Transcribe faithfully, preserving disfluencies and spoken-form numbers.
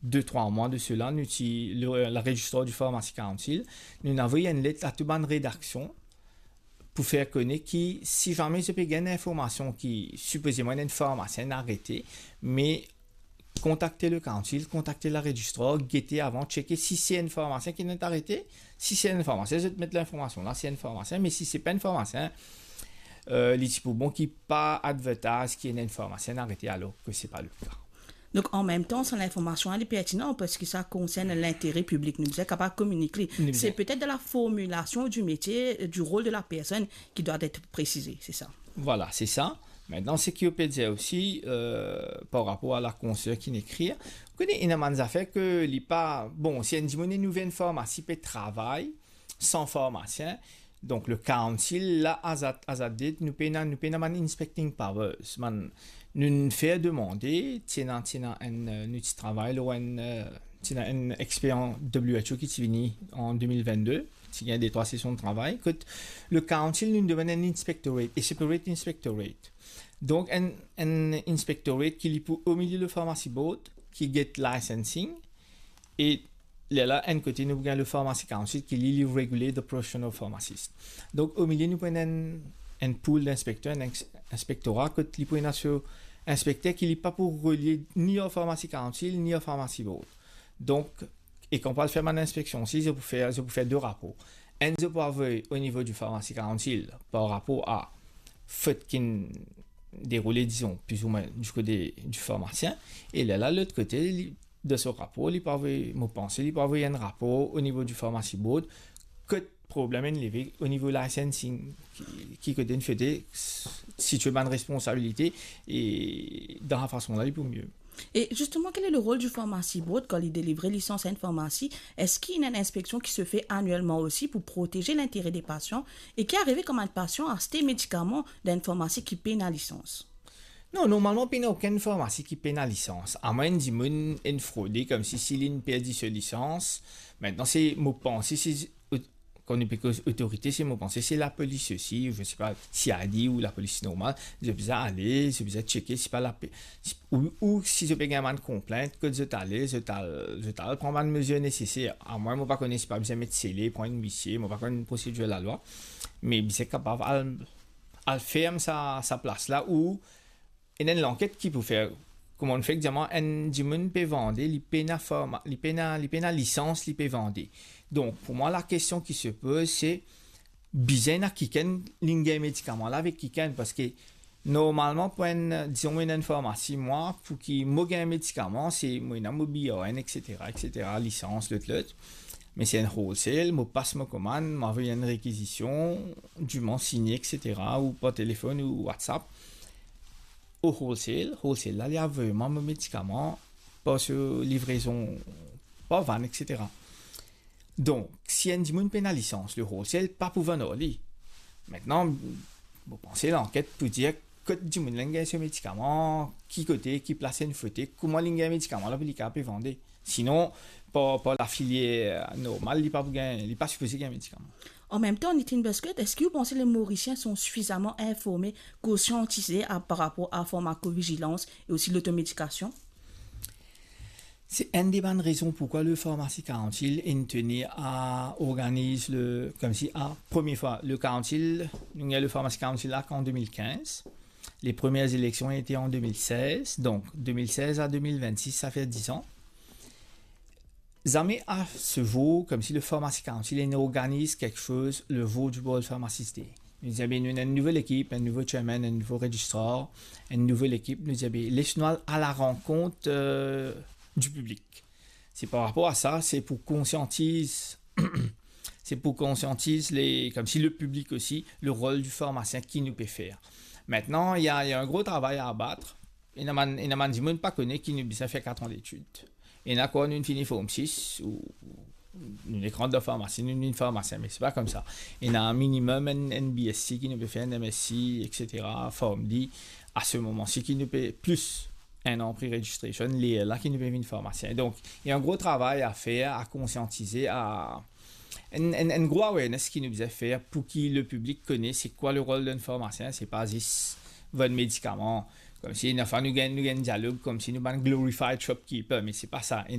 de trwa mwa de sela, nou ti, le, la Registrar du Pharmacy Council, nou inn avoy enn let a tou bann redaksion pou fer kone ki, si zame zot pe gagn informasion ki sipozeman enn farmasien inn arete, me kontakte le Council, kontakte la Registrar, gete avan, tcheke si se enn farmasien ki inn arete. Si se enn farmasien, zot met linformasion la, se enn farmasien, me si se pa enn farmasien, euh, li ti pou bon ki pa advertise ki ena enn farmasien inn arete, alor ke se pa le ka. Donk, an mem tan, sa linformasion la, li pertinan, parski sa konsern lintere piblik, nou bizin kapav kominik li. Nou bizin. C'est peut-être dans la formulation du métier, euh, du rôle de la personne qui doit être précisé, c'est ça ? Vwala, se sa. Aster, seki ou pe dir osi, euh, par rapor a la konsern ki'nn ekrir, ou kone, ena bann zafer ke li pa, bon, si enn dimoun inn ouver enn farmasi, pe travay san farmasien, donk le Council la, as at, as at date, nou pena, nou pena bann inspecting powers. Bann, nou'nn fer demande, ti ena, ti ena enn, euh, nou ti travay lor enn, euh, ti ena enn expert W H O ki ti vini an de mil vennde, ti gagn de trwa sesion de travay, kot le Council nou'nn demann enn inspectorate, e separate inspectorate. Donk, enn, enn inspectorate ki li pou omilie le Pharmacy Board, ki get licensing, e lerla, enn kote, nou pou gagn le Pharmacy Council, ki li, li regulate the profession of pharmacist. Donk, omilie, nou pou ena enn, enn pool d'inspecteurs, enn ex-, inspektora, kot li pou ena so inspekter ki li pa pou relie ni ar Pharmacy Council, ni ar Pharmacy Board. Donk, e kan pou al fer bann inspeksion osi, zot pou fer, zot pou fer de rapor. Enn, zot pou avoy o nivo du Pharmacy Council par rapor a fot ki'nn deroule, dizon, plizoumwin du kote du farmasien. E lerla, lot kote, li, dan so rapor, li pou avoy, mo panse, li pou avoy enn rapor o nivo du Pharmacy Board, kot problem inn leve o nivo licensing, ki, ki kote inn fete, sitie bann responsabilite, e dan sa fason la, li pou mie. Et justement, quel est le rôle du Pharmacy Board quand il délivre licence à une pharmacie ? Est-ce qu'il y a une inspection qui se fait annuellement aussi pour protéger l'intérêt des patients ? Et ki arive kan enn pasian aste medikaman dan enn farmasi ki pena lisans? Non, normalman, pena okenn farmasi ki pena lisans. Amwin enn dimoun inn frode, koumsi si linn perdi so lisans. Aster, se, mo panse, se kan nou pe koz otorite, se, mo panse, se lapolis osi, je sais pas, C I D ou lapolis normal, zot bizin ale, zot bizin tcheke, si pa lape-, si, ou, ou si zot pe gagn bann konplint, kot zot ale, zot al, zot al pran bann mezir neseser. Amwin, mo pa kone si pa bizin met sele, pran enn misie, mo pa konn prosedir lalwa, me bizin kapav al, al ferm sa, sa plas la, ou ena enn lanket ki pou fer. Kouma nou fer, dir mwa, enn dimoun pe vande, li pena forma-, li pena, li pena lisans, li pe vande. Donk, pou mwa, lakestion ki se poz, se bizin ena kikenn, linn gagn medikaman la avek kikenn, parski normalman, pou enn, dizon, mo ena enn farmasi, mwa, pou ki mo gagn medikaman, se mo ena mo B R N, et cetera, et cetera, lisans, lot, lot. Me se enn wholesale, mo pas mo komann, mo avoy enn rekizision, diman signe, et cetera, ou par telefonn ou WhatsApp. O wholesale, wholesale la, li avoy mwa mo medikaman par so livrezon, par vann, et cetera. Donk, si enn dimoun pena lisans, le wholesale pa pou vann ar li. Aster, mo panse lanket pou dir kot dimoun la inn gagn so medikaman, ki kote, ki plas inn frote, kouma linn gagn medikaman la pou li kapav pe vande. Sinon, par, par lafilier normal, li pa pou gagn, li pa sipoze gagn medikaman. En même temps, Nitin Busquet, est-ce que vous pensez que les Mauriciens sont suffisamment informés, conscientisés à, par rapport à la pharmacovigilance et aussi l'automédication ? Se enn de bann rezon poukwa le Pharmacy Council inn tenir a organiz le, koumsi, a, premie fwa, le Council, nou gagn le Pharmacy Council la an de mil kinz. Les premières élections étaient en deux mille seize, donk de mil sez a de mil vennsis, sa fer diz an. Zame a se zour, koumsi le Pharmacy Council inn organiz kiksoz le zour du World Pharmacist Day. Nou dir, be, nou ena enn nouvo lekip, enn nouvo chairman, enn nouvo registrar, enn nouvo lekip, nou dir, be, les nou al a la rankont, euh, du piblik. Se par rapor a sa, se pou konsiantiz, se pou konsiantiz le, koumsi le piblik osi, le rol du farmasien ki nou pe fer. Aster, ena, ena enn gro travay a abat. Ena bann, ena bann dimoun pa kone ki nou bizin fer kat an detid. Ena kan nou fini Form sis, ou nou nek rant dan farmasi, nou vinn farmasien, me se pa koumsa. Ena minimem enn, enn B S C ki nou pe fer, enn M S C, et cetera, Form D. A se moman si ki nou pe plis enn an pre-registration, lerla ki nou pe vinn farmasien. Donk, ena enn gro travay a fer, a konsiantize, a enn, enn, enn gro awareness ki nou bizin fer pou ki le piblik kone se kwa le rol d'un farmasien, se pa zis vann medikaman. Koumsi, ena fwa nou gagn, nou gagn dialog koumsi nou bann glorified shopkeeper, me se pa sa.